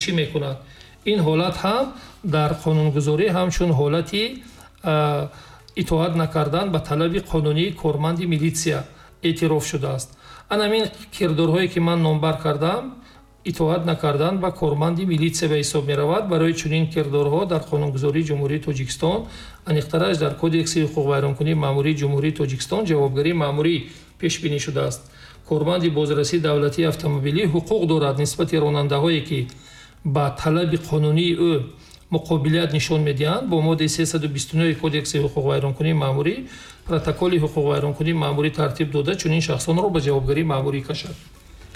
Мекунад. Ин ҳолат ҳам дар қонунгузорӣ ҳамчун ҳолати итоат накардан ба талаби қонунии корманди милитсия эътироф шудааст. Ана ҳамин кирдорҳое, ки ман номбар кардам, итоат накардан ба корманди милитсия ба ҳисоб меравад. Барои чунин кирдорҳо дар қонунгузории Ҷумҳурии Тоҷикистон, аниқтараш дар Кодекси ҳуқуқвайронкунии маъмурии Ҷумҳурии Тоҷикистон, ҷавобгарии маъмурӣ пешбинӣ шудааст. Корманди бозрасии давлатии автомобилӣ ҳуқуқ дорад нисбати ронандаҳое, ки ба талаби қонунии ӯ муқобилият нишон медиҳанд, бо моддаи 329 Кодекси ҳуқуқвайронкунии маъмурӣ протоколи ҳуқуқвайронкунии маъмурӣ тартиб дода, чунин шахсонро ба ҷавобгарии маъмурӣ кашад.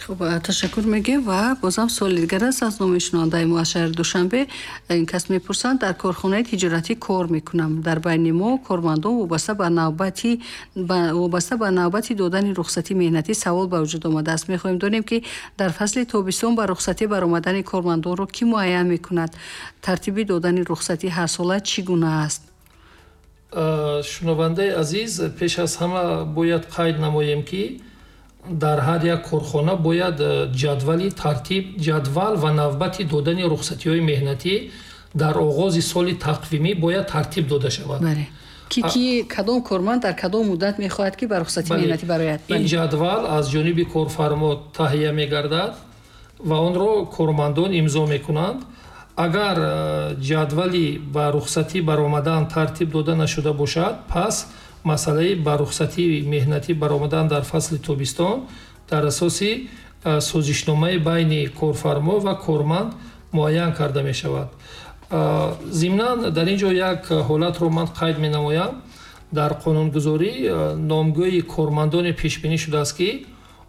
Хуб, ташаккур мегӯем ва бозам суоли дигар аст аз номи шунавандаи мо аз шаҳри Душанбе. Ин кас мепурсанд: дар корхонаи тиҷоратӣ кор мекунам. Дар байни мо кормандон вобаста ба навбати додани рухсатии меҳнатӣ савол ба вуҷуд омадааст. Мехоҳем донем, ки дар фасли тобистон ба рухсатӣ баромадани кормандонро кӣ муайян мекунад? Тартиби додани рухсатӣ ҳарсола чӣ гуна аст? Шунавандаи азиз, пеш аз ҳама бояд қайд намоем, ки дар ҳар як корхона бояд ҷадвали тартиб, ҷадвал ва навбати додани рухсатиҳои меҳнатӣ дар оғози соли тақвимӣ бояд тартиб дода шавад. Бале, ки кадом корманд дар кадом муддат мехоҳад, ки ба рухсатии меҳнатӣ барояд. Ин ҷадвал аз ҷониби корфармо таҳия мегардад ва онро кормандон имзо мекунанд. Агар ҷадвали ба рухсатӣ баромадан тартиб дода нашуда бошад, пас масъалаи ба рухсатии меҳнатӣ баромадан дар фасли тобистон дар асоси созишномаи байни корфармо ва корманд муайян карда мешавад. Зимнан, дар ин ҷо як ҳолатро ман қайд менамоям. Дар қонунгузорӣ номгӯи кормандоне пешбинӣ шудааст, ки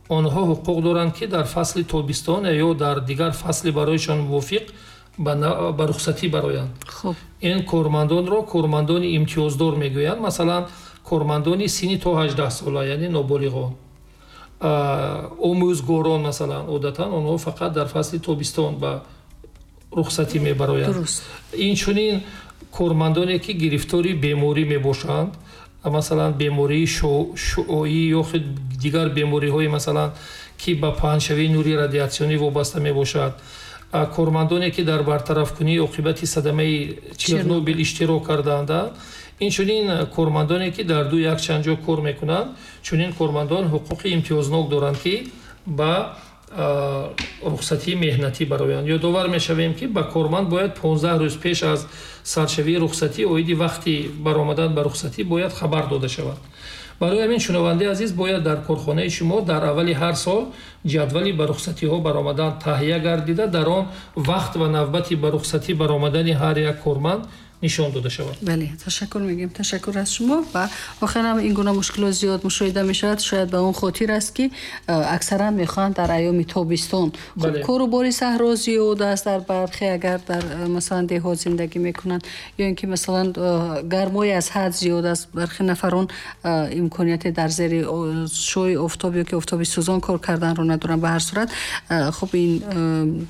онҳо ҳуқуқ доранд, ки дар фасли тобистон ё дар дигар фасли барояшон мувофиқ ба рухсатӣ бароянд. Ин кормандонро кормандони имтиёздор мегӯянд. Масалан, кормандони синни то 18 сола, яъне ноболиғон, омӯзгорон, масалан, одатан онҳо фақат дар фасли тобистон ба рухсатӣ мебароянд. Инчунин кормандоне, ки гирифтори беморӣ мебошанд, масалан, бемории шуоӣ ё худ дигар бемориҳое, масалан, ки ба паҳншавии нури радиатсионӣ вобаста мебошад, кормандоне, ки дар бартарафкунии оқибати садамаи Чернобил иштирок кардаанд, инчунин кормандоне, ки дар ду якчанд ҷо кор мекунанд. Чунин кормандон ҳуқуқи имтиёзнок доранд, ки ба рухсатии меҳнатӣ бароянд. Ёдовар мешавем, ки ба корманд бояд 15 рӯз пеш аз саршавии рухсатӣ оиди вақти баромадан ба рухсатӣ бояд хабар дода шавад. Барои ҳамин, шунавандаи азиз, бояд дар корхонаи шумо дар аввали ҳар сол ҷадвали ба рухсатиҳо баромадан таҳия гардида, дар он вақт ва навбати ба рухсатӣ баромадани ҳар як корманд нишон дода шавад. Бале, ташаккур мегӯем, ташаккур аз шумо. Ва воқеан ин гуна мушкилот зиёд мушоҳида мешавад. Шояд ба он хотир аст, ки аксаран мехоҳанд дар айёми тобистон. Хуб, кору бори саҳро зиёд аст дар бархе, агар дар масалан, деҳот зиндагӣ мекунанд, ё ин ки, масалан, гармои аз ҳад зиёд аст. Бархе нафарон имконияте дар зери шуои офтоб ё ки офтоби сӯзон кор карданро надоранд. Ба ҳар сурат, хуб, ин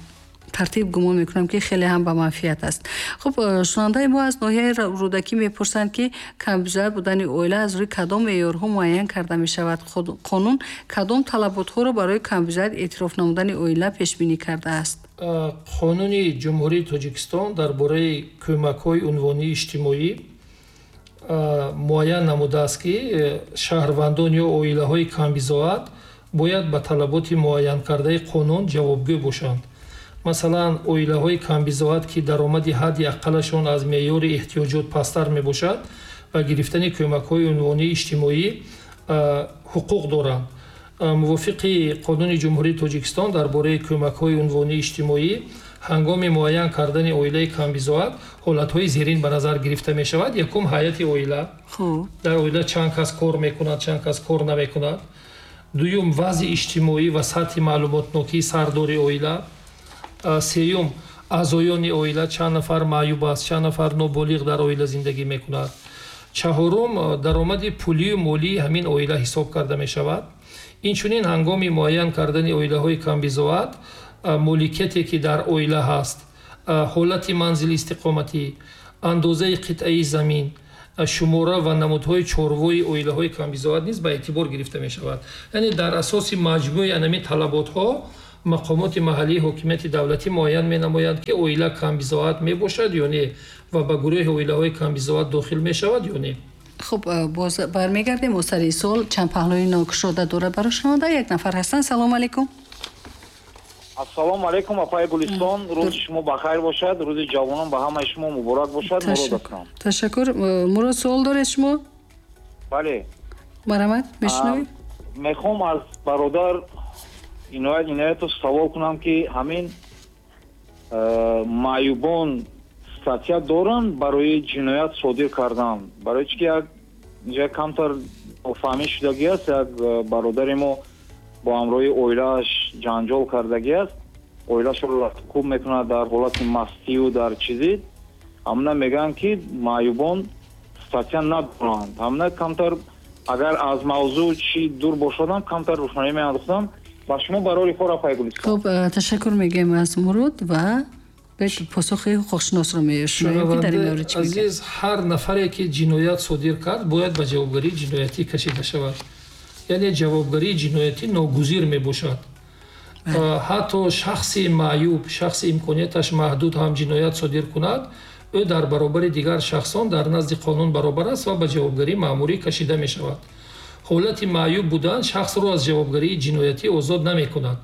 тартиб, гумон мекунам, ки хеле ҳам ба манфиат аст. Хуб, шунавандаи мо аз ноҳияи Рӯдакӣ мепурсанд, ки камбизоат будани оила аз рӯи кадом меъёрҳо муайян карда мешавад? Қонун кадом талаботҳоро барои камбизоат эътироф намудани оила пешбинӣ кардааст? Қонуни Ҷумҳурии Тоҷикистон дар бораи кӯмакҳои унвонии иҷтимоӣ муайян намудааст, ки шаҳрвандон ё оилаҳои камбизоат бояд ба талаботи муайянкардаи қонун ҷавобгӯ бошанд. Масалан, оилаҳои камбизоат, ки даромади ҳадди аққалашон аз меъёри эҳтиёҷот пасттар мебошад, ба гирифтани кӯмакҳои унвонии иҷтимоӣ ҳуқуқ доранд. Мувофиқи Қонуни Ҷумҳурии Тоҷикистон дар бораи кӯмакҳои унвонии иҷтимоӣ, ҳангоми муайян кардани оилаи камбизоат ҳолатҳои зерин ба назар гирифта мешавад. Якум, ҳайати оила, дар оила чанд кас кор мекунад, чанд кас кор намекунад. Дуюм, вазъи иҷтимоӣ ва сатҳи маълумотнокии сардори оила. Сеюм, аъзоёни оила, чанд нафар маъюб аст, чанд нафар ноболиғ дар оила зиндагӣ мекунад. Чаҳорум, даромади пулию молии ҳамин оила ҳисоб карда мешавад. Инчунин, ҳангоми муайян кардани оилаҳои камбизоат моликияте, ки дар оила ҳаст, ҳолати манзили истиқоматӣ, андозаи қитъаи замин, шумора ва намудҳои чорвои оилаҳои камбизоат низ ба эътибор гирифта мешавад. Яъне дар асоси маҷмӯи анами талаботҳо Мақомоти маҳаллии ҳокимияти давлатӣ муайян менамоянд, ки оила камбизоат мебошад ё не ва ба гурӯҳи оилаҳои камбизоат дохил мешавад ё не. Хуб, боз бармегардем о сари суол. Чанд паҳлӯи нокушода дорад барои шунаванда. Як нафар ҳастанд. Салому алайкум. Ассалому алайкум, апаи Гулистон. Рӯзи шумо бахайр бошад, рӯзи ҷавонон ба ҳамаи шумо муборак бошад. Мурод ҳастам. Ташаккур. Мурод, суол доред шумо? Бале. Марҳамат, мешунавем. Мехоҳам аз бародар Иноят Иноятов савол кунам, ки ҳамин маъюбон статья доранд барои ҷиноят содир кардан? Барои чӣ ки як инҷа камтар нофаҳмӣ шудагӣ аст. Як бародари мо бо ҳамроҳи оилааш ҷанҷол кардагӣ аст, оилаашро латукӯб мекунад дар ҳолати мастию дар чизи. Ҳамна мегӯянд, ки маъюбон статья надоранд. Ҳамна камтар, агар аз мавзӯъ чӣ дур бошадам, камтар рӯшноӣ меандохтам. Ба шумо барори кор, апаи Гулистон. Хуб, ташаккур мегӯем аз Мурод ва посухи ҳуқуқшиносро мешунавем, ки дар ин маврид чӣ мегӯяд. Азиз, ҳар нафаре ки ҷиноят содир кард, бояд ба ҷавобгарии ҷиноятӣ кашида шавад. Яъне ҷавобгарии ҷиноятӣ ногузир мебошад. Ҳатто шахси маъюб, шахси имконияташ маҳдуд ҳам ҷиноят содир кунад, ӯ дар баробари дигар шахсон дар назди қонун баробар аст ва ба ҷавобгарии маъмурӣ кашида мешавад. Ҳолати маъюб будан шахсро аз ҷавобгарии ҷиноятӣ озод намекунад.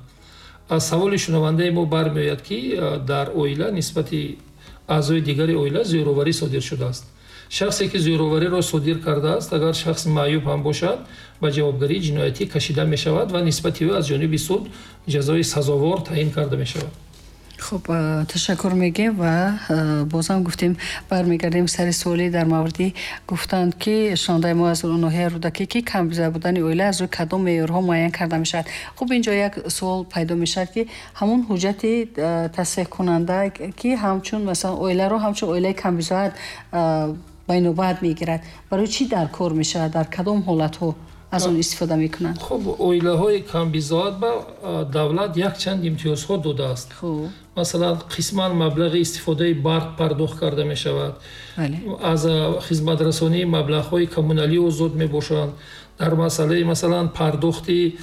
Аз саволи шунавандаи мо бармеояд, ки дар оила нисбати аъзои дигари оила зӯроварӣ содир шудааст. Шахсе ки зӯровариро содир кардааст, агар шахс маъюб ҳам бошад, ба ҷавобгарии ҷиноятӣ кашида мешавад ва нисбати ӯ аз ҷониби суд ҷазои сазовор таъин карда мешавад. Хуб, ташаккур мегӯем ва бозам гуфтем, бармегардем сари суоле дар мавриди гуфтанд, ки шунавандаи мо аз ноҳияи Рӯдакӣ, ки камбизоат будани оила аз рӯи кадом меъёрҳо муайян карда мешавад. Хуб, инҷо як суол пайдо мешавад, ки ҳамон ҳуҷҷати тасдиқкунанда, ки ҳамчун масалан оиларо ҳамчун оилаи камбизоат ба инобат мегирад, барои чӣ дар кор мешавад, дар кадом ҳолатҳо аз он истифода мекунанд? Хуб, оилаҳои камбизоат ба давлат якчанд имтиёзҳо додааст. Масалан, қисман маблағи истифодаи барқ пардохт карда мешавад, аз хизматрасонии маблағҳои коммуналӣ озод мебошанд, дар масъалаи масалан пардохти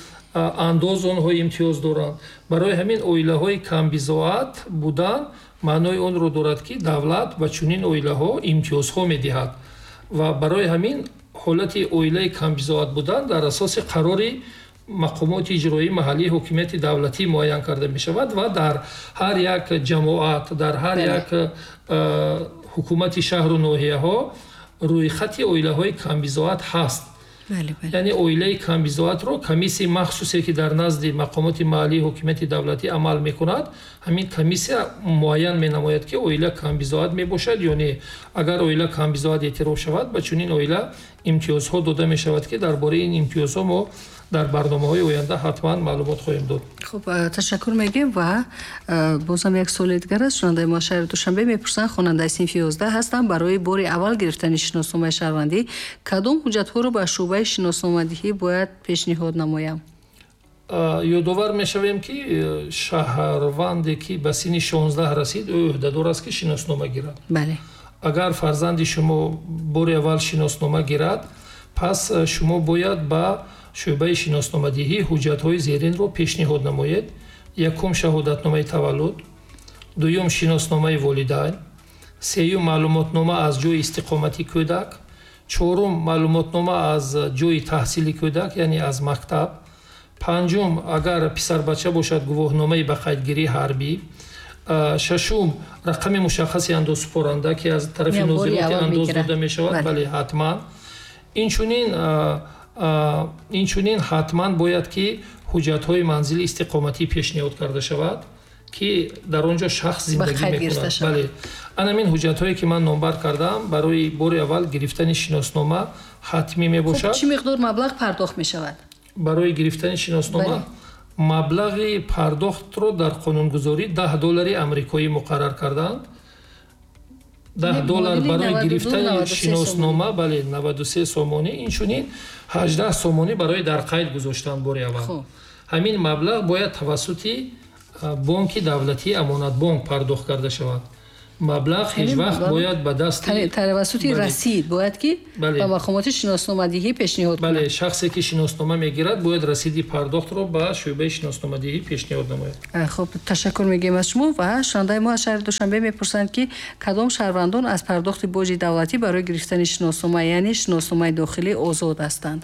андоз онҳо имтиёз доранд. Барои ҳамин оилаҳои камбизоат будан маънои онро дорад, ки давлат ба чунин оилаҳо имтиёзҳо медиҳад ва барои ҳамин ҳолати оилаи камбизоат будан дар асоси қарори мақомоти иҷроии маҳаллии ҳокимияти давлатӣ муайян карда мешавад ва дар ҳар як ҷамоат, дар ҳар як ҳукумати шаҳру ноҳияҳо рӯйхати оилаҳои камбизоат ҳаст. Яъне оилаи камбизоатро комиссияи махсусе, ки дар назди мақомоти маҳаллии ҳокимияти давлатӣ амал мекунад, ҳамин комиссия муайян менамояд, ки оила камбизоат мебошад ё не. Агар оила камбизоат эътироф шавад, ба чунин оила имтиёзҳо дода мешавад, ки дар бораи ин имтиёзҳо мо дар барномаҳои оянда ҳатман маълумот хоҳем дод. Хуб, ташаккур мегӯем ва бозам як суоли дигар аст. Шунавандаи мо шаҳри Душанбе мепурсанд: хонандаи синфи 11 ҳастам, барои бори аввал гирифтани шиносномаи шаҳрвандӣ кадом ҳуҷҷатҳоро ба шӯъбаи шиносномадиҳӣ бояд пешниҳод намоям? Ёдовар мешавем, ки шаҳрванде, ки ба синни 16 расид, ӯ ӯҳдадор аст, ки шиноснома гирад. Агар фарзанди шумо бори аввал шиноснома гирад, пас шумо бояд ба шӯъбаи шиносномадиҳӣ ҳуҷҷатҳои зеринро пешниҳод намоед. Якум, шаҳодатномаи таваллуд, дуюм, шиносномаи волидайн, сеюм, маълумотнома аз ҷои истиқомати кӯдак, чорум, маълумотнома аз ҷои таҳсили кӯдак, яъне аз мактаб, панҷум, агар писарбача бошад, гувоҳномаи ба қайдгирии ҳарбӣ, шашум, рақами мушаххаси андозсупоранда, ки аз тарафи нозироти андоз дода мешавад. Бале, ҳатман. Инчунин ҳатман бояд, ки ҳуҷҷатҳои манзили истиқоматӣ пешниҳод карда шавад, ки дар он ҷо шахс зиндагӣ мекунад. Бале, ана ҳамин ҳуҷҷатҳое, ки ман номбар кардам, барои бори аввал гирифтани шиноснома ҳатмӣ мебошад. Чӣ миқдор маблағ пардохт мешавад барои гирифтани шиноснома? Маблағи пардохтро дар қонунгузорӣ 10 доллари амрикоӣ муқаррар кардаанд. 10 доллар барои гирифтани шиноснома, бале, 93 сомонӣ, инчунин 18 сомонӣ барои дар қайд гузоштан бори аввал. Ҳамин маблағ бояд тавассути бонки давлатии Амонатбонк пардохт карда шавад. Маблағ ҳеҷ вақт бояд ба даст тавассути расид бояд ки ба мақомоти шиносномадиҳӣ пешниҳод кунад. Бале, шахсе ки шиноснома мегирад бояд расиди пардохтро ба шӯъбаи шиносномадиҳӣ пешниҳод намояд. Хуб, ташаккур мегӯем аз шумо. Ва шунавандаи мо аз шаҳри Душанбе мепурсанд, ки кадом шаҳрвандон аз пардохти боҷи давлатӣ барои гирифтани шиноснома, яъне шиносномаи дохилӣ, озод ҳастанд.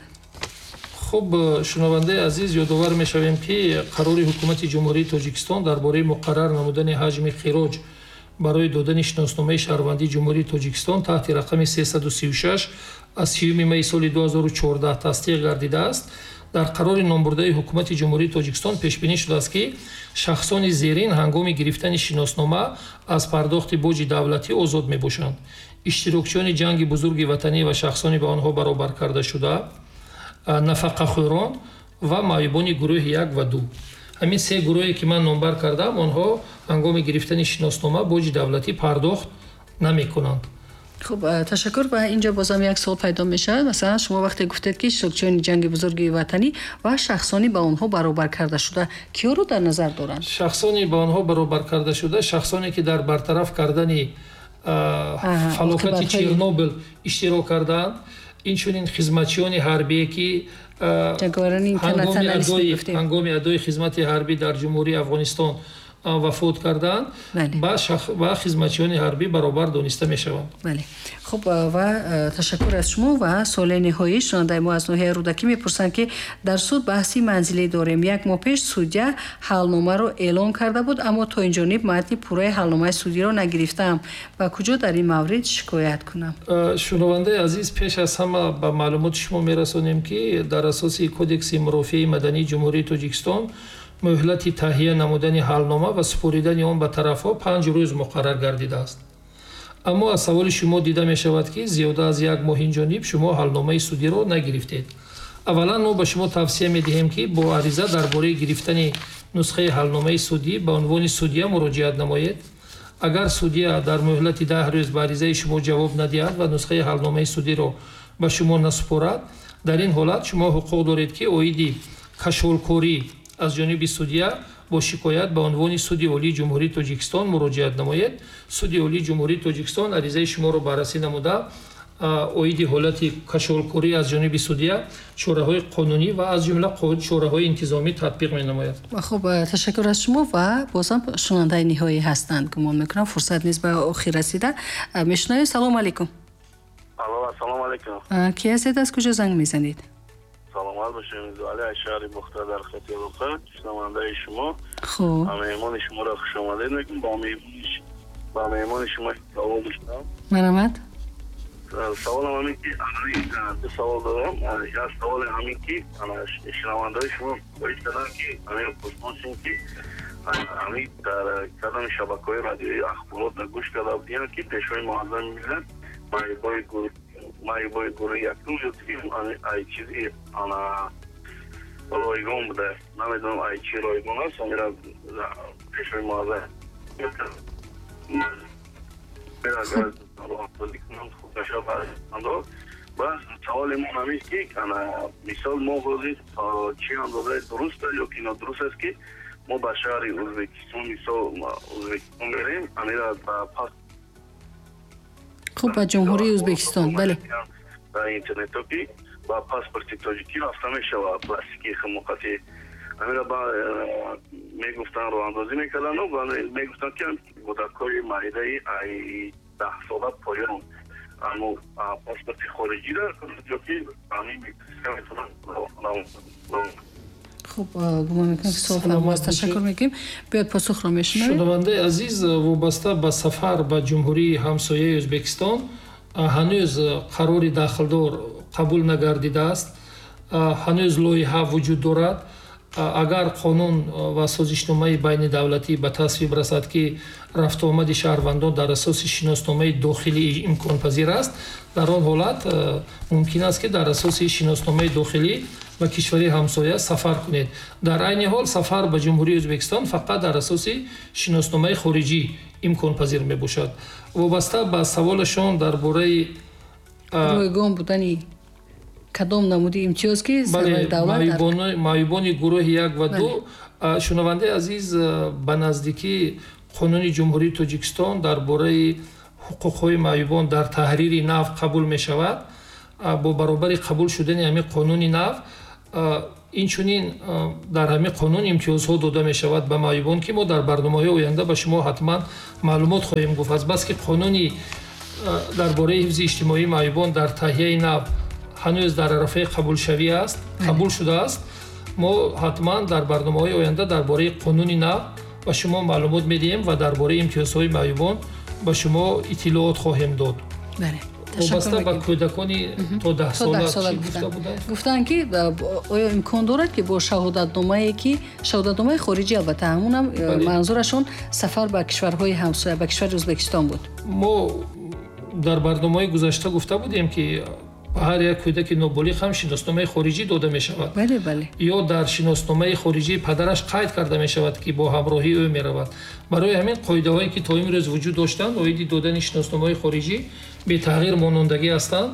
Хуб, шунавандаи азиз, ёдовар мешавем, ки қарори ҳукумати Ҷумҳурии Тоҷикистон дар бораи муқаррар намудани ҳаҷми хироҷ барои додани шиносномаи шаҳрвандии Ҷумҳурии Тоҷикистон таҳти рақами 336 аз 30 майи соли 2014 тасдиқ гардидааст. Дар қарори номбурдаи ҳукумати Ҷумҳурии Тоҷикистон пешбинӣ шудааст, ки шахсони зерин ҳангоми гирифтани шиноснома аз пардохти боҷи давлатӣ озод мебошанд: иштирокчиёни ҷанги бузурги ватанӣ ва шахсони ба онҳо баробар карда шуда, нафақахӯрон ва маъюбони гурӯҳи 1 ва 2. Ҳамин се гурӯҳе ки ман номбар кардам, онҳо ҳангоми гирифтани шиноснома боҷи давлатӣ пардохт намекунанд. Хуб, ташаккур. Ва инҷо бозам як суол пайдо мешавад. Масалан, шумо вақте гуфтед, ки иштирокчиёни ҷанги бузурги ватанӣ ва шахсони ба онҳо баробар карда шуда, киёро дар назар доранд? Шахсони ба онҳо баробар карда шуда, шахсоне ки дар бартараф кардани фалокати Чернобил иштирок кардаанд, инчунин хизматчиёни ҳарбие, ки ҳангоми адои хизмати ҳарбӣ дар Ҷумҳурии Афғонистон вафот кардаанд, ба хизматчиёни ҳарбӣ баробар дониста мешаванд. Бале, хуб, ва ташаккур аз шумо. Ва суоли ниҳоӣ, шунавандаи мо аз ноҳияи Рӯдакӣ мепурсанд, ки дар суд баҳси манзилӣ дорем. Як моҳ пеш судя ҳалномаро эълон карда буд, аммо то ин ҷониб матни пурраи ҳалномаи судиро нагирифтаам. Ба куҷо дар ин маврид шикоят кунам? Шунавандаи азиз, пеш аз ҳама ба маълумоти шумо мерасонем, ки дар асоси Кодекси мурофиаи мадании Ҷумҳурии Тоҷикистон муҳлати таҳия намудани ҳалнома ва супоридани он ба тарафҳо 5 рӯз муқаррар гардидааст. Аммо аз саволи шумо дида мешавад, ки зиёда аз як моҳ инҷониб шумо ҳалномаи судиро нагирифтед. Аввалан, мо ба шумо тавсия медиҳем, ки бо ариза дар бораи гирифтани нусхаи ҳалномаи судӣ ба унвони судя муроҷиат намоед. Агар судя дар муҳлати 10 рӯз ба аризаи шумо ҷавоб надиҳад ва нусхаи ҳалномаи судиро ба шумо насупорад, дар ин ҳолат шумо ҳуқуқ доред, ки оиди кашолкорӣ аз ҷониби судя бо шикоят ба унвони Суди Олии Ҷумҳурии Тоҷикистон муроҷиат намоед. Суди Олии Ҷумҳурии Тоҷикистон аризаи шуморо баррасӣ намуда, оиди ҳолати кашолкорӣ аз ҷониби судя чораҳои қонунӣ ва аз ҷумла чораҳои интизомӣ татбиқ менамояд. Хуб, ташаккур аз шумо. Ва бозам шунавандаи ниҳоӣ ҳастанд, гумон мекунам фурсат низ ба охир расида. Мешунавем. Салому алайкум. Алло, ассалому алайкум. Ки ҳастед, аз куҷо занг мезанед? Саломат бошед. Али аз шаҳри Бохтар дар хати алоқа, шунавандаи шумо. Хуб, меҳмони шуморо хуш омадед мегӯям. Ба меҳмони шумо савол доштам. Марҳамат. Саволам ҳамин ки, ду савол дорам. Як саволе ҳамин ки шунавандаи шумо хоҳиш кардам, ки ҳамин пурсоншем, ки ҳамин дар кадом шабакаҳои радиои ахборот гӯш карда будем, ки Пешвои муаззами миллат маъюбои гурӯҳи якум ё дуюм ай чизи ана ройгон буда. Намедонам, ай чи ройгон аст. Амира Пешвои муаззам агар роҳандозӣ кунанд, хуб мешавад. Ва саволи мо ҳамист, ки ана мисол мо ҳозир чӣ андозаи дуруст аст ё ки нодуруст аст, ки мо ба шаҳри Ӯзбекистон, мисол Ӯзбекистон мерем, амира ба пас Хуб, ба Ҷумҳурии Ӯзбекистон, бале. Дар интернето ки ба паспорти тоҷикӣ рафта мешавад, пластики химоқати амира ба мегуфтанд, роҳандозӣ мекарданду мегуфтанд, ки кӯдакҳои майдаи ай 10 сола поён аммо паспорти хориҷӣ дар ё ки метавонанд. Хуб, гумон мекунам, ки суол фаҳм аст. Ташаккур мекунем. Биёед, посухро мешунавем. Шунавандаи азиз, вобаста ба сафар ба ҷумҳурии ҳамсояи Ӯзбекистон ҳанӯз қарори дахлдор қабул нагардидааст, ҳанӯз лоиҳа вуҷуд дорад. Агар қонун ва созишномаи байнидавлатӣ ба тасвиб расад, ки рафтуомади шаҳрвандон дар асоси шиносномаи дохилӣ имконпазир аст, дар он ҳолат мумкин аст, ки дар асоси шиносномаи дохилӣ ба кишвари ҳамсоя сафар кунед. Дар айни ҳол сафар ба Ҷумҳурии Ӯзбекистон фақат дар асоси шиносномаи хориҷӣ имконпазир мебошад. Вобаста ба саволашон дар бораи ройгон будани кадом намуди имтиёз, ки сарвари давлат маъюбони гурӯҳи 1 ва 2, шунавандаи азиз, ба наздикӣ Қонуни Ҷумҳурии Тоҷикистон дар бораи ҳуқуқҳои маъюбон дар таҳрири нав қабул мешавад, бо баробари қабул шудани ҳамин қонуни нав, инчунин дар ҳамин қонун имтиёзҳо дода мешавад ба маъюбон, ки мо дар барномаҳои оянда ба шумо ҳатман маълумот хоҳем гуфт. Азбаски қонуни дар бораи ҳифзи иҷтимоии маъюбон дар таҳияи нав ҳанӯз дар арафаи қабулшавӣ аст, қабул шудааст, мо ҳатман дар барномаҳои оянда дар бораи қонуни нав ба шумо маълумот медиҳем ва дар бораи имтиёзҳои маъюбон ба шумо иттилоот хоҳем дод. Вобаста ба кӯдакони то 10 сола чӣ гуфта буданд? Гуфтанд, ки оё имкон дорад, ки бо шаҳодатномае, ки шаҳодатномаи хориҷӣ, албатта, ҳамунам манзурашон сафар ба кишварҳои ҳамсоя, ба кишвари Ӯзбекистон буд. Мо дар барномаҳои гузашта гуфта будем, ки ба ҳар як кӯдаки ноболиғ ҳам шиносномаи хориҷӣ дода мешавад. бале бале Ё дар шиносномаи хориҷии падараш қайд карда мешавад, ки бо ҳамроҳии ӯ меравад. Барои ҳамин қоидаҳое, ки то имрӯз вуҷуд доштанд оиди додани шиносномаҳои хориҷӣ, бетағйир монондагӣ ҳастанд.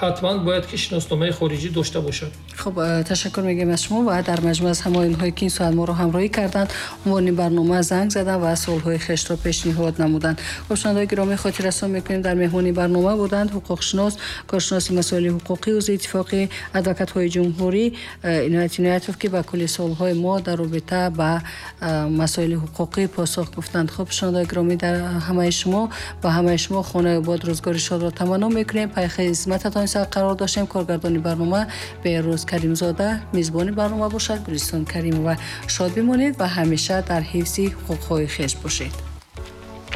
Ҳатман бояд ки шиносномаи хориҷӣ дошта бошад. Хуб, ташаккур мегӯем аз шумо ва дар маҷмӯъ аз ҳамаи онҳое, ки ин соат моро ҳамроҳӣ карданд, унвони барнома занг заданд ва суолҳои хешро пешниҳод намуданд. Хуб, шунавандаои гиромӣ, хотиррасон мекунем, дар меҳмони барнома буданд ҳуқуқшинос, коршиноси масоили ҳуқуқӣ, узви Иттифоқи адвокатҳои ҷумҳурӣ Иноят Иноятов, ки ба кулли суолҳои мо дар робита ба масоили ҳуқуқӣ посух гуфтанд. Хуб, шунавандаои гиромӣ, дар ҳамаи шумо ба ҳамаи шумо хонаи обод, рӯзгори шодро таманно мекунем. Пай хизмататон қарор доштем. Коргардони барнома Беҳрӯз Каримзода, мизбони барнома бошад Гулистон Каримова. Шод бимонед ва ҳамеша дар ҳифзи ҳуқуқҳои хеш бошед.